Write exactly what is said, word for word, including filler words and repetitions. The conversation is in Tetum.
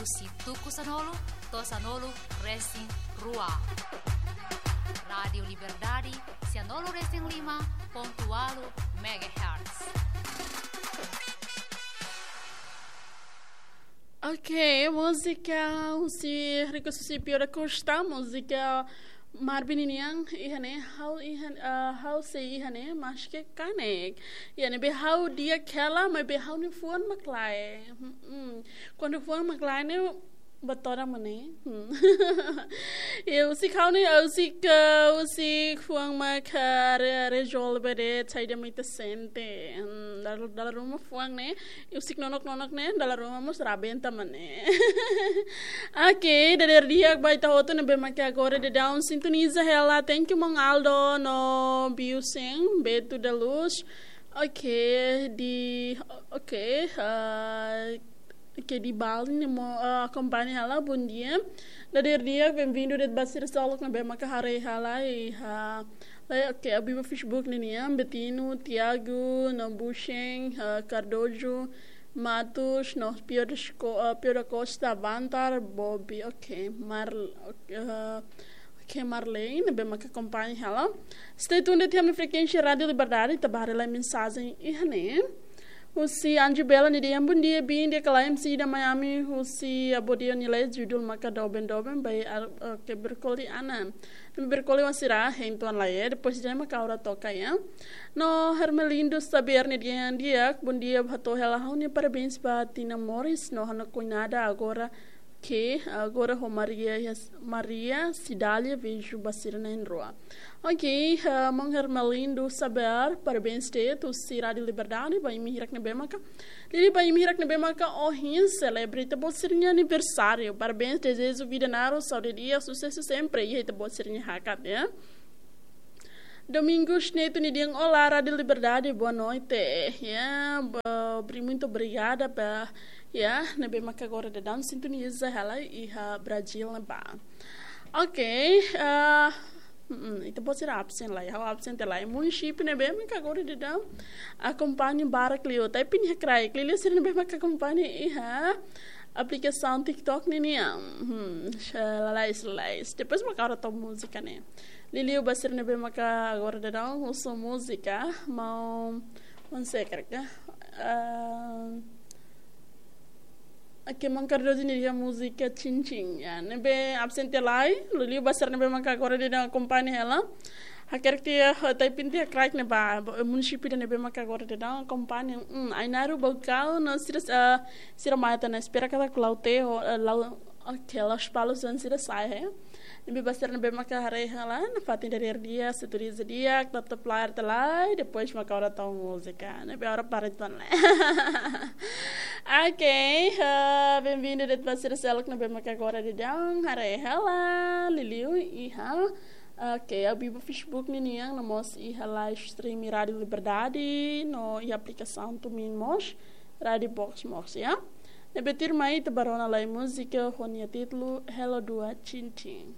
Husi tuku sanulu to'o sanulu resin rua. Rádiu Liberdade, sanulu resin lima pontu ualu megahertz. Ok, múzika husi Rico Susi Pio da Costa, múzika Marvin nian, iha ne'e, ha'u iha, ah, ha'u sei iha ne'e, maske kanek. Iha ne'ebé ha'u di'ak hela, maibé ha'u-nia fuan mak lae. Hmm, hmm. Kuandu fuan mak lae ne'e, bá todan mak ne'e. Hmm. Ya, husik ha'u-nia, husik, ah, husik fuan mak, ah, re-, rezolve de'it, saida mak ita sente. Hmm, dala, dala ruma fuan ne'e, husik nonook-nonook ne'e, dala ruma mós rabenta mak ne'e. Ok, dadeer di'ak ba ita hotu ne'ebé maka agora daudaun sintoniza hela. Thank you, maun Aldo, no Biusen, Beto da Luz. Ok, di, ok, ah, ok, di Bali ne'e mós, ah, akompaña hela, bondia. Dadeer di'ak, benvindu de'it ba sira seluk ne'ebé maka haree hela iha, ah, ok, abiba Facebook ne'e nian, Betino, Tiago, no Busheng, ah, Cardojo, Matos, no Pio da Sco-, ah, Pio da Costa, Bantar, Bobi, ok, Mar-, ok, ah, ok, Marley, ne'ebé maka akompaña hela. Stay tuned, iha ami-nia frekuénsia Rádiu Liberdade, ita bá haree lai mensajen iha ne'e. Husi Anju Bela nia dehan, bondia, bin, di'ak ka lae M C da Miami, husi Abodeu nia leet, judul maka Doben Doben, by Ar-, ok, Berkoli Ana. Berkoli wan sira, hein tuan lai, eh, depois de maka ha'u atu toka, ya. No Hermelindo Xavier nia dehan di'ak, bondia, hato'o hela ha'u-nia parabéns ba Tina Morris, no ha'u-nia kuñada agora ke, agora ho Maria, Maria Cidália, vejo ba sira na'in-rua. Ok, ah, maun Hermelindo Xavier, parabéns de'it husi Rádiu Liberdade, ba imi hirak ne'ebé maka. Liuliu ba imi hirak ne'ebé maka ohin selebrita boot sira-nia aniversáriu. Parabéns, dezeju vida naruk, saúde di'ak, susesu sempre. Iha ita-boot sira-nia hakat, ya. Domingos Neto nia dehan, olá, Rádiu Liberdade, boa noite. Ya, bo-, bri-, muito obrigada ba, ya, ne'ebé maka agora daudaun sintoniza hela iha Brazil ne'ebá. Ok, ah, mm, ita-boot sira absen lai, ha'u absen tiha lai. Munisípiu ne'ebé maka agora daudaun akompaña barak liu, tapi nia kraik, liuliu sira ne'ebé maka akompaña iha aplikasaun TikTok ne'e nian. Hmm, xa-, lalais, lalais. Depois maka ha'u atu tau múzika ne'e. Liuliu ba sira ne'ebé maka agora daudaun husu múzika, maun, maun sé karik, ah, ok, maun Cardoso nia dehan múzika Chin Chin, ya, ne'ebé absen tiha lai, liuliu ba sira ne'ebé maka agora daudaun akompaña hela. Hakerek tiha, eh, typing tiha kraik ne'ebá, bo-, eh, munisípiu ida ne'ebé maka agora daudaun akompaña, hmm, Ainaro, Baucau, no sira, eh, sira mai atu espera katak Lautém, ho, eh, Lau-, ok, Lospalos, zona sira sai, eh. Ne'ebé ba sira ne'ebé maka haree hela, nafatin dadeer di'ak, sintoniza di'ak, tetap layar tiha lai, depois maka ha'u atu tau múzika, ne'ebé ha'u para tuan lai. Ok, eh, benvindu de'it ba sira seluk ne'ebé maka agora daudaun haree hela, liuliu iha. Ok, abiba Facebook ne'e nian, no mós iha live stream Rádiu Liberdade, no iha aplikasaun TuneIn mós, Rádiu Box mós, ya. Ne'ebé tuirmai ita bá rona lai múzika ho nia títulu Hello Dua Chin Chin.